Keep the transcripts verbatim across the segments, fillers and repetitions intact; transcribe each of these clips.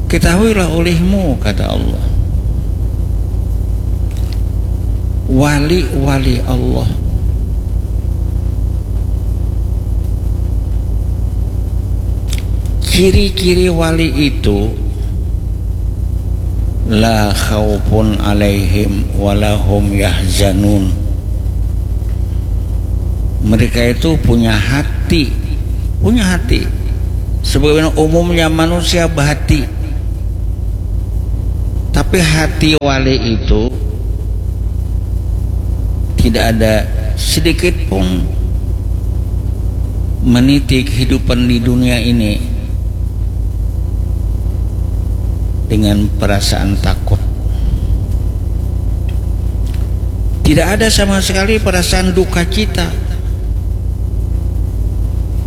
Ketahuilah olehmu, kata Allah, wali-wali Allah. Ciri-ciri wali itu, la khaufun alaihim walahum yahzanun. Mereka itu punya hati, punya hati. Sebagaimana umumnya manusia berhati. Tapi hati wali itu tidak ada sedikit pun meniti kehidupan di dunia ini dengan perasaan takut. Tidak ada sama sekali perasaan duka cita.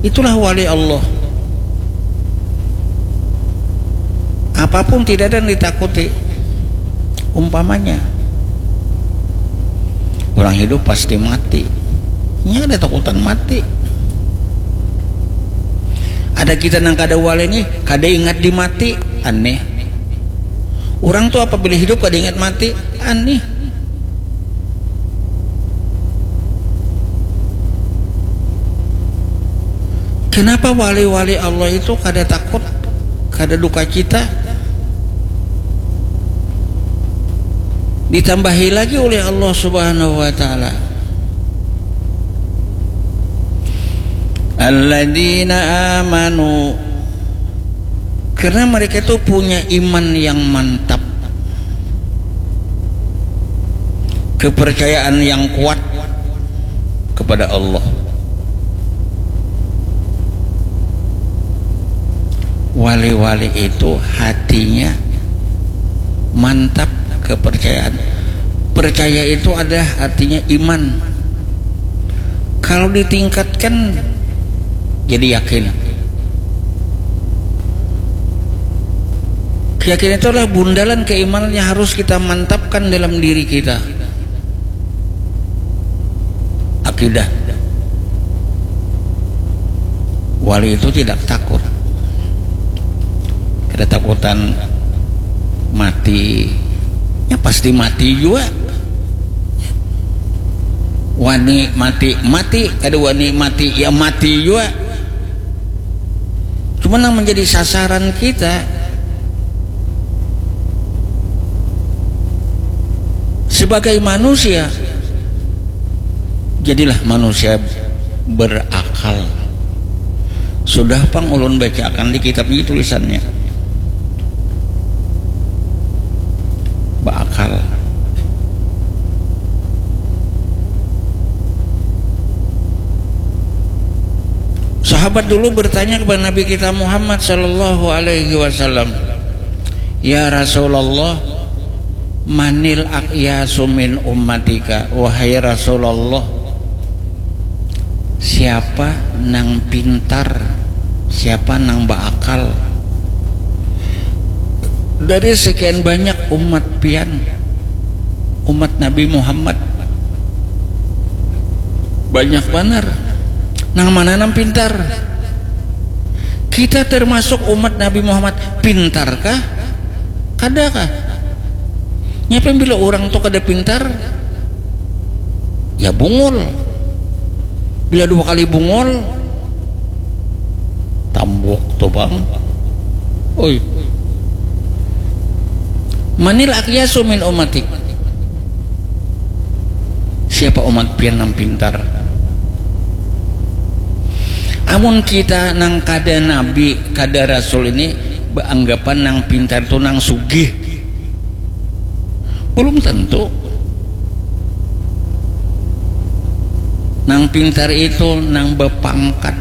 Itulah wali Allah. Apapun tidak ada yang ditakuti. Umpamanya, orang hidup pasti mati. Ini ada takutan mati. Ada kita nang kada wali nih, kada ingat di mati. Aneh. Orang tuh apabila hidup kada ingat mati, aneh. Kenapa wali-wali Allah itu kada takut, kada duka cita? Ditambahi lagi oleh Allah Subhanahu wa Ta'ala, alladzina amanu, karena mereka itu punya iman yang mantap, kepercayaan yang kuat kepada Allah. Wali-wali itu hatinya mantap kepercayaan. Percaya itu adalah artinya iman. Kalau ditingkatkan jadi yakin. Keyakinan itu adalah bundalan keimanan yang harus kita mantapkan dalam diri kita. Akidah. Wali itu tidak takut. Kada takutan mati. Ya pasti mati jua. Wani mati, mati. Kada wani mati, ya mati jua. Cuma yang menjadi sasaran kita sebagai manusia, jadilah manusia berakal. Sudah pang ulun bacakan di kitab ini tulisannya. Berakal. Sahabat dulu bertanya kepada Nabi kita Muhammad sallallahu alaihi wasallam, "Ya Rasulullah, manil aqyasu min ummatika?" Wahai Rasulullah, siapa nang pintar, siapa nang berakal dari sekian banyak umat pian, umat Nabi Muhammad? Banyak banar. Nang mana nang pintar? Kita termasuk umat Nabi Muhammad. Pintarkah? Kadakah? Nyapa yang bila orang tu kada pintar, ya bungul. Bila dua kali bungul, tambuk tu bang. Oi. Manil aqyasu min ummati. Siapa umat pian nang pintar? Amun kita nang kada nabi, kada rasul ini beanggapan nang pintar tu nang sugih. Belum tentu. Nang pintar itu nang bepangkat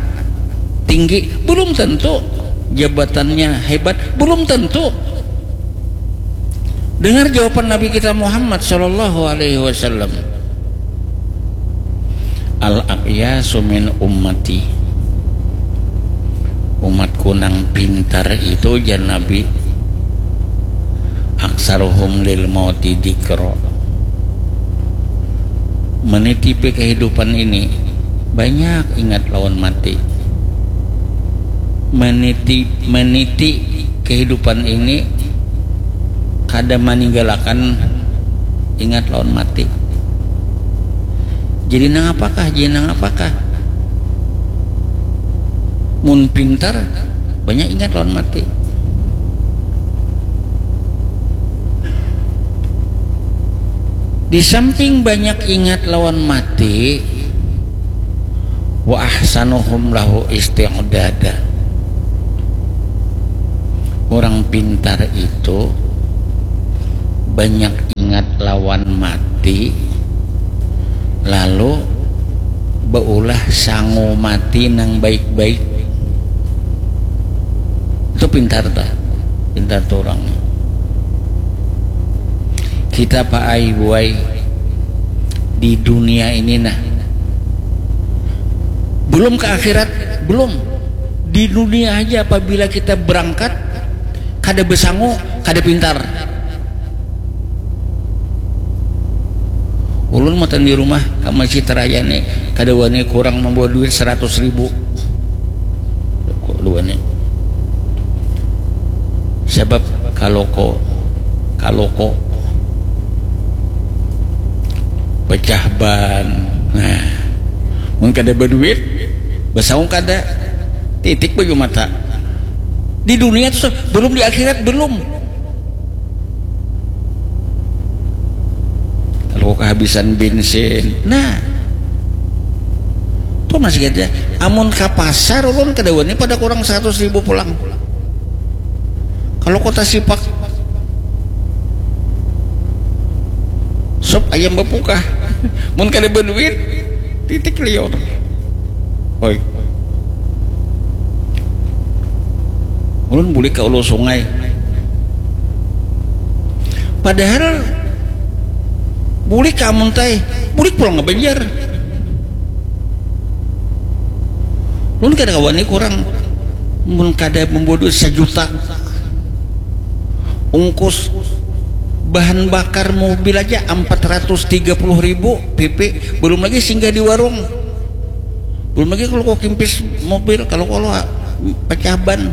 tinggi, belum tentu. Jabatannya hebat, belum tentu. Dengar jawaban Nabi kita Muhammad sallallahu alaihi wasallam. Al aqyasu min ummati. Umatku nang pintar itu, jar Nabi, aksaruhum lil mauti dzikra. Menitipi kehidupan ini banyak ingat lawan mati. Meniti meniti kehidupan ini kada maninggalakan ingat lawan mati. Jadi nang apakah, jadi nang apakah? Mun pintar, banyak ingat lawan mati. Di samping banyak ingat lawan mati, wa ahsanuhum lahu isti'dada. Orang pintar itu banyak ingat lawan mati, lalu beulah sangu mati nang baik-baik. Itu pintar dah, pintar tuh orang. Kita, Pak Ai, Buai, di dunia ini, nah, belum ke akhirat, belum. Di dunia aja, apabila kita berangkat kada besangu, kada pintar. Ulun matan di rumah ka Masjid Raya ni, kada wani kurang membawa duit seratus ribu. Kada wani. Sebab kaloko, kaloko, pecah ban. Nah, mun kada baduit, basaung kada. Titik baju mata. Di dunia tu, belum di akhirat, belum. Kalau kehabisan bensin, nah, tuh masih ada. Amun ke pasar, ulun kada wani pada kurang seratus ribu pulang. Kalau kota Sipak, sop ayam bapukah. Mun kada baduit, titik liur. Oi. Ulun bulik ka ulu sungai. Padahal bulik ka Amuntai, bulik pulang ka Banjar. Ulun kada kawa ni kurang. Mun kada membawa duit sajuta, ungkus bahan bakar mobil aja empat ratus tiga puluh ribu P P, belum lagi singgah di warung. Belum lagi kalau kau kimpis mobil, kalau kalau pecah ban.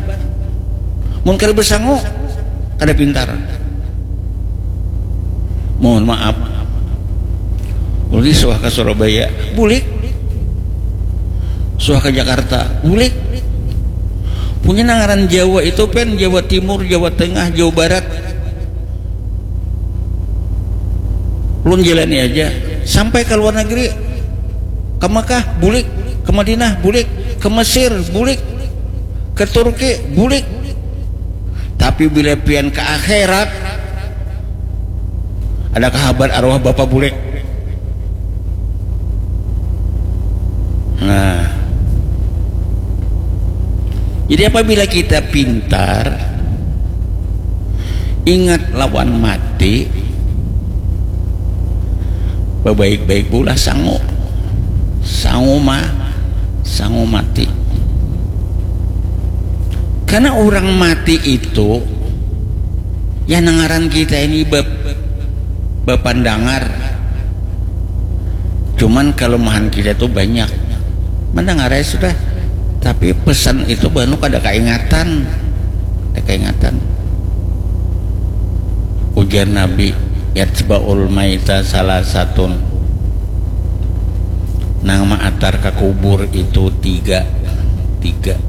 Mun kada bersangu, kada pintar. Mohon maaf. Ulun suah ke Surabaya, bulik. Suah ke Jakarta, bulik. Punya nang ngaran Jawa itu, pen, Jawa Timur, Jawa Tengah, Jawa Barat. Ulun jalani aja. Sampai ke luar negeri, ke Mekah, bulik. Ke Madinah, bulik. Ke Mesir, bulik. Ke Turki, bulik. Tapi bila pian ke akhirat, ada kahabar arwah bapa bulik. Nah, jadi apabila kita pintar, ingat lawan mati, babaik-baik bulah sangu. Sangu ma, sangu mati. Karena orang mati itu, ya, nang ngaran kita ini bep-, bapandangar. Cuman kelemahan kita tuh banyak. Mendengar ya sudah. Tapi pesan itu banu kada kaingatan. Kada kaingatan. Ujar Nabi, "Yatba'ul maita salasatun." Nang maatar ka kubur itu tiga. Tiga.